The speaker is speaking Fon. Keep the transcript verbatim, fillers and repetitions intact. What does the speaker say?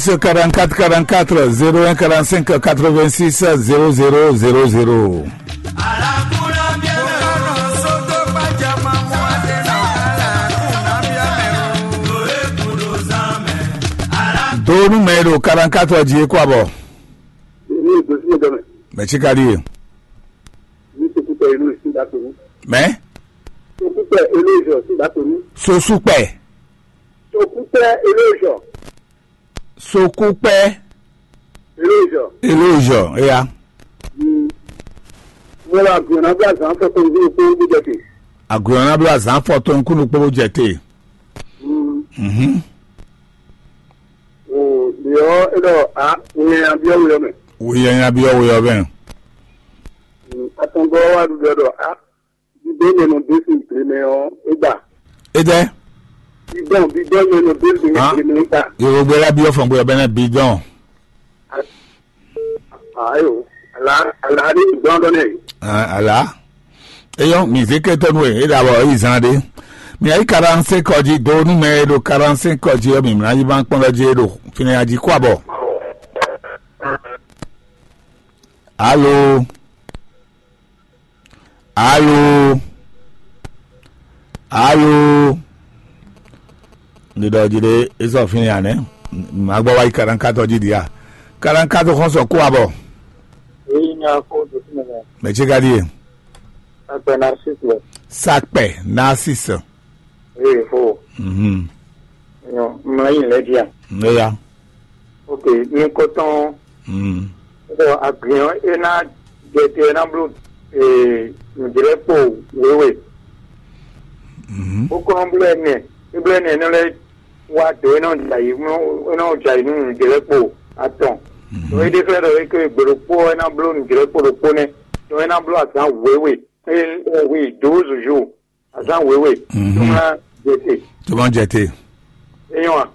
Quarante-quatre quarante-quatre zéro un quarante-cinq quatre-vingt-six zéro zéro zéro zéro. Donu mɛ ɖo quarante-quatre jí kó abɔ. Mɛ tsi ka ɖi ye? Mɛ? Sokútɛ Eloge. Sokútɛ Eloge. Sokúkpɛ. Eloge. Eloge, eya. Mo wá gbɔn ná bí azán fɔ tó nzú kó bí jẹ te. Agbɔn ná bí azán fɔ tó nkúnnú kpó jẹ te. Mhm. O yɔ e ɖɔ a wòye abiɔ wòye mɛ. Wòye abiɔ wòye bɛ. Atɔngɔ wa ɖuɖɔ ɖɔ a bidɔn mɛ nɔ dé sin ble mɛ ɔ e gba. Edɛ. Bidɔn bidɔn mɛ nɔ dé sin ble mɛ e gba. Yorùbá la bí ọfọn gbé ọbẹ náà bidɔn. Ayo, ala ala ni gbɔn dɔ ne. Ala. Eyɔ mi zeke tɔnu e e da bɔ eyi zan de. Mi ayi quarante-cinq kɔji do nu mɛ e ɖo quarante-cinq kɔji ɔ mi mla yi ban kpɔn lɔ ji e ɖo fini aji kó abɔ. Alo. Alo. Alo. Ndi ɖɔ ji ɖe esɔ fini anɛ. Ma gbɔ wa yi quarante-quatre ji dia. Quarante-quatre xɔsɔ kó abɔ. Eyi nya ko do fún mi. Mɛ tsi ka di ye? Sakpɛ Narcisse. Sakpɛ Narcisse. Eyi fo. Mhm. Nyɔ mla yi lɛ dia. Eya. Ok, nukɔntɔn. Mhm. Bɔ agriɔn e ná jɛ te e ná bló nǔjlɛ́kpo wěwe. Mhm. Bó kɔn bló ɛnɛ, é bló ɛnɛ nɔ lɛ́ wá dǒ é nɔ jɛ ayǐ é nɔ jɛ ayǐ nú nǔjlɛ́kpo atɔn. Mhm. Ɖo é ɖe xlɛ́ ɖɔ é ké gbe ɖokpó ɔ́ é ná bló nǔjlɛ́kpo ɖokpó nɛ́, ɖɔ é ná bló azǎn wěwe, é hu dǒ zǔzú azǎn wěwe. Mhm. Tó ná jɛ te. Tó má jɛ te. É nyɔ́ a?